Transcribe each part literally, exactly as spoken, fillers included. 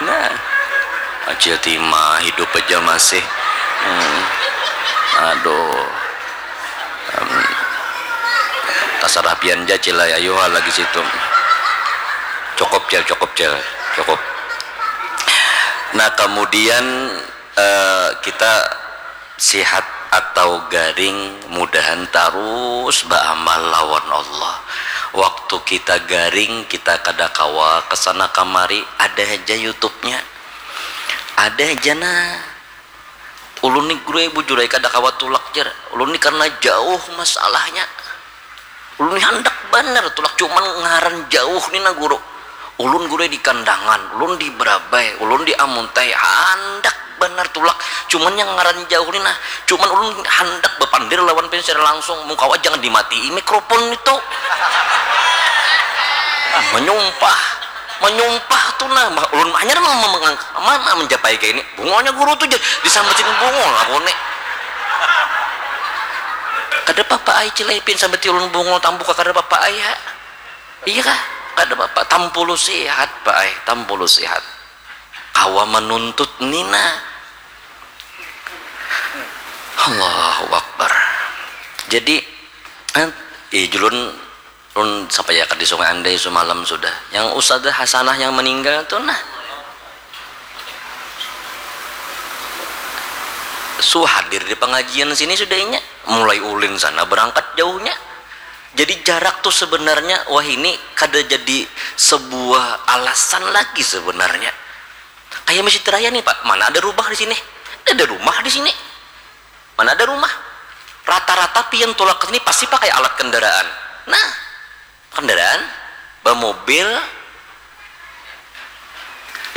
Nah, Acil Tima hidup aja masih. Hmm. Aduh. Em, tasarah pian ja, Cil, ayo lagi situ. Cukup, Cil, cukup, Cil. Cukup. Nah, kemudian, eh, kita sihat atau garing, mudahan tarus baamal lawan Allah. Waktu kita garing, kita kada kawa kesana kamari, ada aja YouTube-nya. Ada aja nah. Ulun ni, guru ai, bujur ai kada kawa tulak, jar. Ulun ni karena jauh masalahnya. Ulun ni handak banar tulak, cuman ngaran jauh ni nah, guru. Ulun, guru ai, di Kandangan, ulun di Berabai, ulun di Amuntai, handak banar tulak. Cuman yang ngaran jauh ni nah, cuman ulun handak bapandir lawan pian secara langsung. Mun kawa jangan dimatii mikrofon itu. Manyumpah. Manyumpah tu nah, mah ulun hanyar ma-, ma-, mangang-, ma-, ma-, manjapai kaya ini. Bungolnya guru tu jar, disambatin bungol aku ni. Kada papa ai, Cil ai, pian sambati ulun bungol tampuka, kada papa ai, ha. Iya kah? Kada papa, tampulu sihat, Pa ai, tampulu sihat. Kawa manuntut ni nah. Allahu Akbar. Jadi, eh, ih, julun Ulun sampaiakan di Sungai Andai sumalam sudah. Yang Ustazah Hasanah yang meninggal tu nah. Su hadir di pengajian sini sudah inya. Mulai ulin sana berangkat jauhnya. Jadi jarak tu sebenarnya, wah, ini kada jadi sebuah alasan lagi sebenarnya. Kayak Masjid Raya nih, Pak. Mana ada rumah di sini? Ada rumah di sini. Mana ada rumah? Rata-rata pian tulak ke sini pasti pakai alat kendaraan. Nah, kendaraan, bamobil,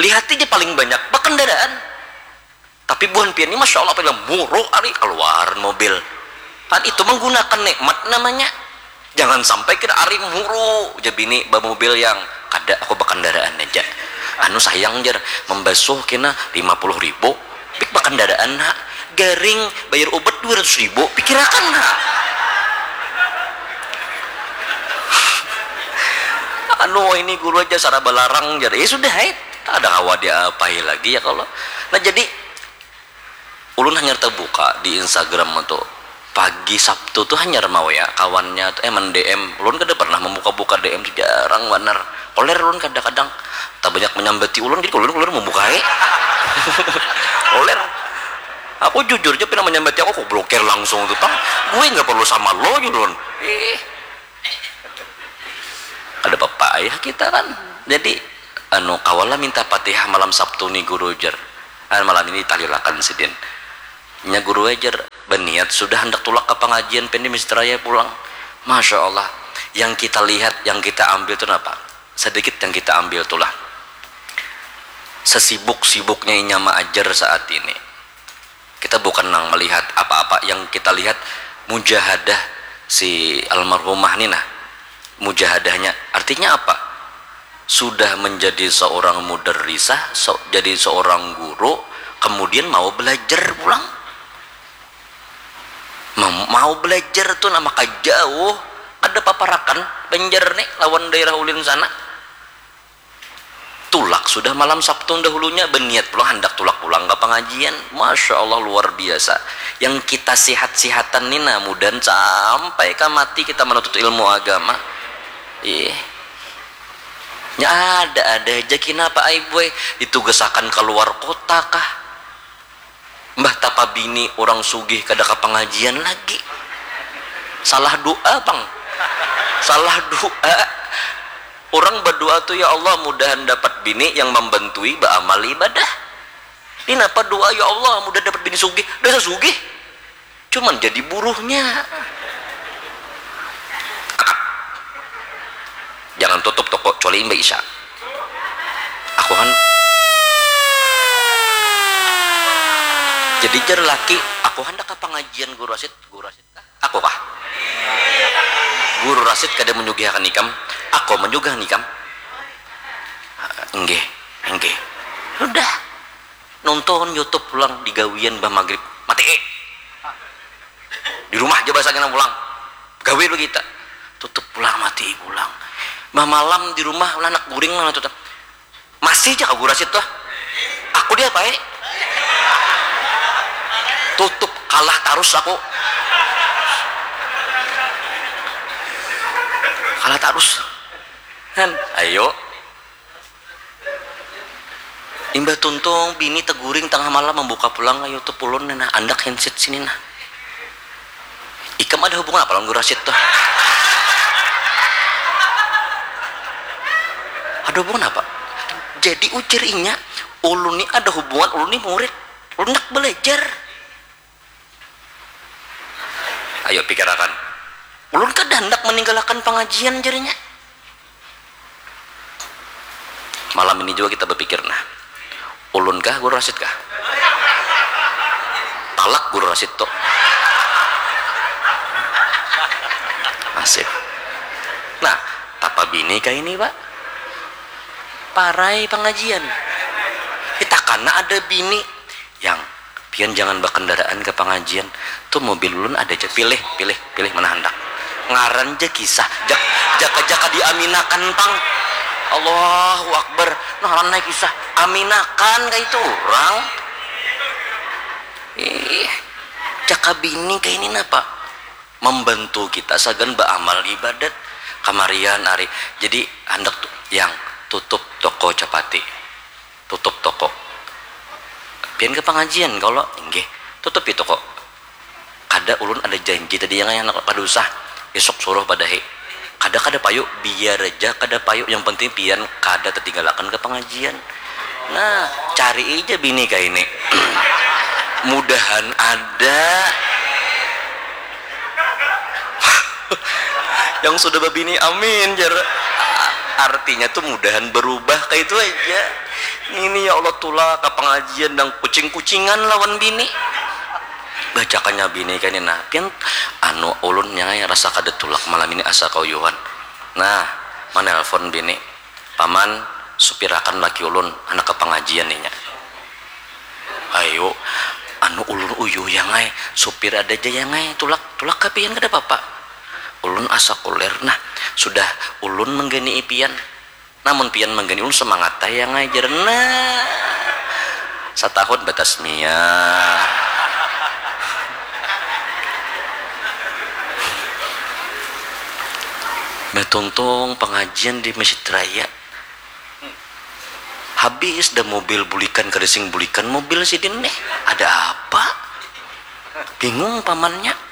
lihat aja paling banyak bakendaraan. Tapi buhan pian ini, masya Allah, paling muruk ari keluar mobil. Kan itu menggunakan nikmat namanya. Jangan sampai kita ari muru ja bini bamobil yang kada, aku bakandaraan aja. Anu sayang jar, membasuh kena lima puluh ribu, pik bakandaraan nak, garing bayar obat dua ratus ribu, pikirakan nak. Anu ini guru aja sara balarang jar, ya sudah hai, ada kawa diapai lagi ya kalau. Nah jadi Ulun hanyar tabuka di Instagram tu. Pagi Sabtu tu hanyar mau ya kawannya tu, eh, men-D M. Ulun kada pernah membuka-buka D M tu, jarang banar. Koler ulun kadang-kadang. Tabanyak menyambati ulun, jadi ulun, ulun membuka ai. Koler. Aku jujur ja, pina menyambati aku, aku blokir langsung tu pang. Gue nggak perlu sama lo, ulun. Ih. Kada papa ai kita kan. Jadi, anu, kawalah minta Fatihah malam Sabtu ni, Guru, jar. Ah, malam ini ditahlilakan sidin. Nya, Guru, ai, jar, baniat sudah handak tulak ka pangajian, pian di Masjid Raya pulang. Masya Allah, yang kita lihat, yang kita ambil tu napa? Sedikit yang kita ambil tulah. Sesibuk-sibuknya inya maajar saat ini. Kita bukan nang melihat apa-apa, yang kita lihat mujahadah si almarhumah ni nah. Mujahadahnya artinya apa? Sudah menjadi seorang mudarrisah, so, jadi seorang guru, kemudian mau belajar pulang. Mau, mau belajar tu nah, maka jauh, kada paparakan Banjar ni lawan daerah ulin sana. Tulak sudah malam Sabtu dahulunya, baniat pulang handak tulak pulang ka pangajian. Masya Allah, luar biasa. Yang kita sihat-sihatan ni nah, mudahan sampai ka mati kita manuntut ilmu agama. Ih. Nya ada-ada aja, kinapa ai, boy? Ditugasakan ka luar kota kah? Mbah tapa bini urang sugih kada ka pangajian lagi. Salah doa pang. Salah doa. Urang badoa tu, "Ya Allah, mudahan dapat bini yang mambantui baamal ibadah." Ni napa doa, "Ya Allah, mudahan dapat bini sugih." Dasar sugih. Cuman jadi buruhnya. Jangan tutup toko kecuali imbah isya. Aku han-, jadi jar laki, aku handak ka pangajian Guru Rasid, Guru Rasid kah? Aku kah? Guru Rasid kada menyugihakan ikam, aku menyugihakan ikam. Enggih, enggih. Sudah. Nonton YouTube pulang di gawian bah magrib. Mati. Di rumah aja bahasa kena pulang. Gawe lu kita. Tutup pulang, mati pulang. Bah malam di rumah ulah anak guring lah tutup. Masih ja ka guru Rasid tuh. Aku diapai? Tutup, kalah tarus aku. Kalah tarus. Han, ayo. Imbah tuntung bini teguring tengah malam membuka pulang ka YouTube ulun, nah, andak handset sini nah. Ikam ada hubungan apa lawan guru Rasid tuh? Ada hubungan apa? Jadi ujar inya, ulun ni ada hubungan, ulun ni murid, ulun nak belajar. Ayo pikirakan. Ulun kada handak meninggalakan pengajian jarinya. Malam ini juga kita berpikir nah, ulun kah guru Rasid kah? Talak guru Rasid tuh. Nasib. Nah, tapa bini kah ini pak? Parai pengajian. Kita karena ada bini yang pian jangan berkendaraan ke pengajian tuh, mobil ulun ada aja, pilih pilih pilih mana hendak. Ngaran je kisah. Jak, jaka jaka diaminakan pang. Allahu Akbar. Nah, ngaran naik kisah, aminakan kayak itu orang. Ih, jaka bini kayak ini napa membantu kita sagan beramal ibadat kamarian hari. Jadi hendak tuh yang tutup toko capati, tutup toko. Pian ke pengajian kalau inggih, tutupi toko. Kada, ulun ada janji tadi yang anak kada usah, besok suruh padahi. Kada kada payu, biar aja kada payu, yang penting pian kada tertinggalakan ke pengajian. Nah, cari aja bini kayak ini. Mudahan ada. Yang sudah berbini amin jar. Artinya tuh mudahan berubah kayak itu aja. Ini ya Allah, tulak ke pengajian dan kucing-kucingan lawan bini. Bacakannya bini kayak ini nah, pian anu ulun yang rasa kada tulak malam ini asa kauyuhan. Nah, menelpon bini, paman, supirakan laki ulun anak ke pengajian inya. Ayo, anu ulun uyuh yang ai, supir ada aja yang ai, tulak tulak ka pian kada papa. Ulun asa kuler nah, sudah ulun menggani ipian. Namun pian manggani ulun semangat tayang ai jar nah. Satahun batasmiyah. Batuntung pengajian di Masjid Raya. Habis dah mobil bulikan, kada sing bulikan mobil sidin nih. Ada apa? Bingung pamannya.